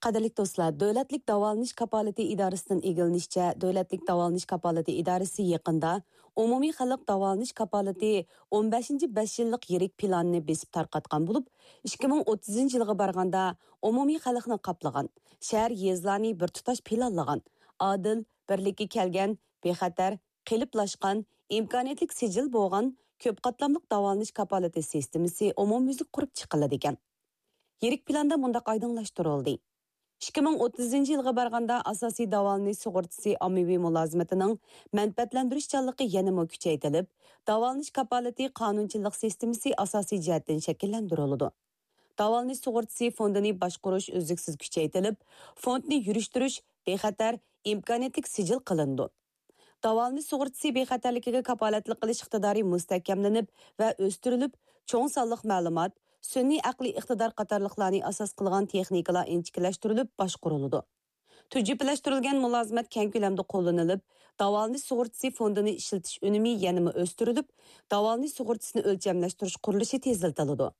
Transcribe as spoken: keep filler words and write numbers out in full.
قەدىرلىك دوستلار، دۆلەتلىك داۋالىنىش كاپالىتى ئىدارىسىدىن ئىگىلىنىشىچە، دۆلەتلىك داۋالىنىش كاپالىتى ئىدارىسى يېقىندا ئومۇمىي خەلق داۋالىنىش كاپالىتى ئون بەشىنچى بەش يىللىق يىرىك پىلانىنى بېسىپ تارقاتقان بولۇپ، ئىككى مىڭ ئوتتۇزىنچى يىلغا بارغاندا ئومۇمىي خەلقنى قاپلىغان، شەھەر، يېزىلارنى بىر تۇتاش پىلانلىغان، ئادىل، بىرلىككە كەلگەن، بىخەتەر، قېلىپلاشقان، ئىمكانىيەتلىك سىجىل بولغان كۆپ قاتلاملىق داۋالىنىش كاپالىتى سىستېمىسى ئومۇميۈزلۈك قۇرۇپ چىقىلىدىكەن. يىرىك پىلاندا مۇنداق ئايدىڭلاشتۇرۇلدى. ئىككى مىڭ ئوتتۇزىنچى يىلغا بارغاندا ئاساسىي داۋالىنىش سۇغۇرتىسى ئاممىۋى مۇلازىمىتىنىڭ مەنپەئەتلەندۈرۈشچانلىقى يەنىمۇ كۈچەيتىلىپ، داۋالىنىش كاپالىتى قانۇنچىلىق سىستېمىسى ئاساسىي جەھەتتىن شەكىللەندۈرۈلىدۇ. داۋالىنىش سۇغۇرتىسى فوندىنى باشقۇرۇش ئۈزلۈكسىز كۈچەيتىلىپ، فوندنى يۈرۈشتۈرۈش بىخەتەر، ئىمكانىيەتلىك سىجىل قىلىنىدۇ. داۋالىنىش سۇغۇرتىسى بىخەتەرلىكىگە كاپالەتلىك قىلىش ئىقتىدارى مۇستەھكەملىنىپ ۋە ئۆستۈرۈلۈپ، چوڭ سانلىق مەلۇمات، سۈنئىي ئەقلىي ئىقتىدار قاتارلىقلارنى ئاساس قىلغان تېخنىكىلار ئىنچىكىلەشتۈرۈلۈپ باشقۇرۇلىدۇ. تۈجۈپىلەشتۈرۈلگەن مۇلازىمەت كەڭ كۆلەمدە قوللىنىلىپ، داۋالىنىش سۇغۇرتىسى فوندىنى ئىشلىتىش ئۈنۈمى يەنىمۇ ئۆستۈرۈلۈپ، داۋالىنىش سۇغۇرتىسىنى ئۆلچەملەشتۈرۈش قۇرۇلۇشى تېزلىتىلىدۇ.